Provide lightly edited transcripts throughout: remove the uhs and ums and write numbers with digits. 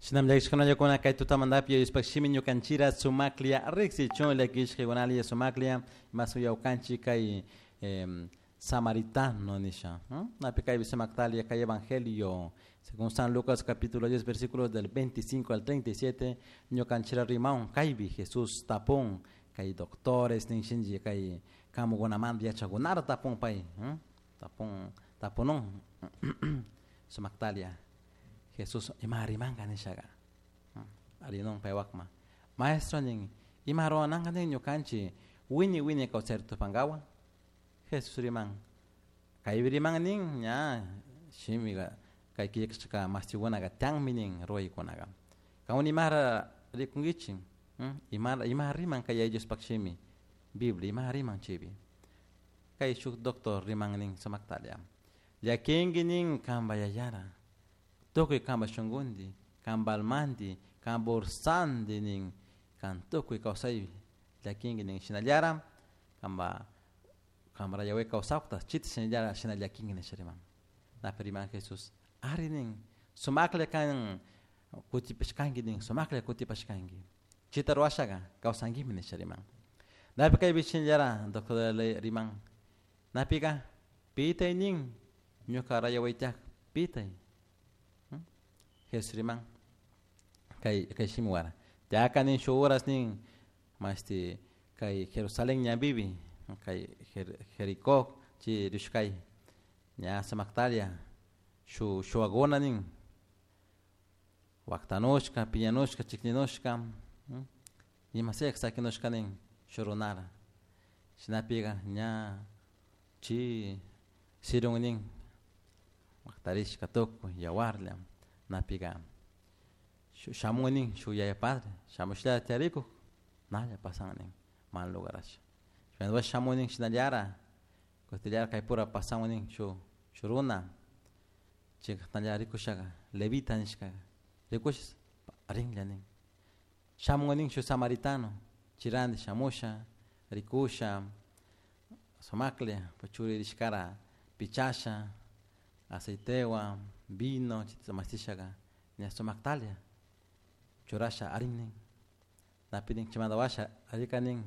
Shinam llakishkunallakuna kay tutamantapi Diospaq shimi ñukanchira sumaklia riqsichun llakishkakunalla sumaklia masuyawkanchik kay samaritano nisha. Napi kaypi sumaktalia kay evangelio según San Lucas capítulo 10 versículos del 25 al 37 ñukanchira rimaun kaypi Jesús tapun kay doctores ninshinchik kay kamukunamanta yachakunara tapun pay tapun tapunun sumaktalia Jesús ima rimanka nishaqa arinun paywakma maestro nin ima ruwananka nin ñukanchik wini wini kawsayta tupankawan Jesús riman kaypi riman nin ña shimiqa kay killkashka mashtikunaka tiyanmi nin ruwaykunaqa kawan imara rikunkichik ima ima riman kay Diospaq shimi Biblia ima riman chaypi kay shuk doctor riman nin sumaktalla llakinki nin kanpa yayara tukuy kanpa shunkunti kanpa almanti kanpa ursanti nin kan tukuy kawsaypi llakinki nin shinallara kanpa kanpa rayaway kawsakta chita shinallara shina llakinki nisha riman napi riman Jesús ari nin sumaklla kan kutipashkanki nin sumaklla kutipashkanki chita ruwashaqa kawsankimi nisha riman napi kaypi shinallara doctor riman napika pitay nin ñuka rayawaytaq pitay Jesús riman kay kay shimiwara yaka nin shuk horas nin mashti kay Jerusalén ñanpipi kay Jericó chay rishkay ña sumaktalla shuk shuwakuna nin waktanushka piñanushka chikninushka ima sea sakinushka nin shuk runara shinapika ña chay sirun nin waktarishka tukuy yawarlla napika shamun nin shuk yaya padre shamushlla tiyarikuk nalla pasan nin mal lugarasha shamun nin shinallara kutillara kaypura pasan nin shuk shuk runa chayka rikushaka levita nishkaka rikush rinlla nin shamun nin shuk samaritano chirandi shamusha rikusha sumaklla churi rishkara pichasha aceitewan vino chayta mastishaka ña sumaktalla churasha arin nin napi nin chaymanta washa rika nin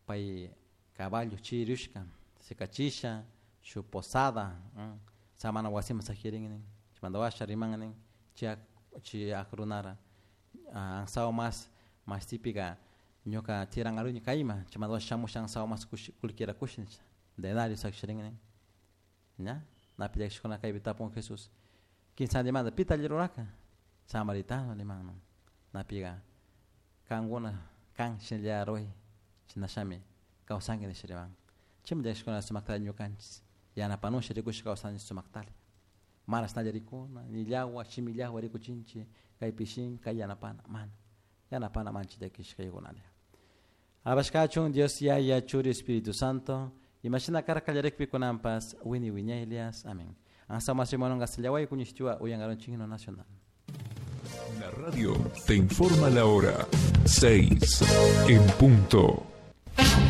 pay caballo chiriushka sikachisha shuk posada samana wasiman sakirin nin chaymanta washa riman nin chay chay runara ansawa mas mashtipika ñuka tiranaruni kayman chaymanta washa shamusha ansawa mas kullkira kush nisha denario sakisharin nin ña napi llakishkuna kaypi tapun Jesús kinsantimanta pita alli rurarka samaritano niman napika kankuna kan shinalla ruray chinashami kawsanki nisha riman chaymi llakishkuna sumaktalla ñukanchik yanapanusha rikushka kawsanchik sumaktalla mana ashnalla rikuna ni llagua shimi llagua rikuchinchik kaypi shin kay yanapana mana yanapana manchik llakishkaykunalla alabashkachun Dios Yaya Churi Espíritu Santo imashina karka kallarikpi kunanpas wini wiñaylias amén ansa matrimonio sillaway kuñishtiwa uyangaronchik himno nacional. La radio te informa la hora 6 en punto.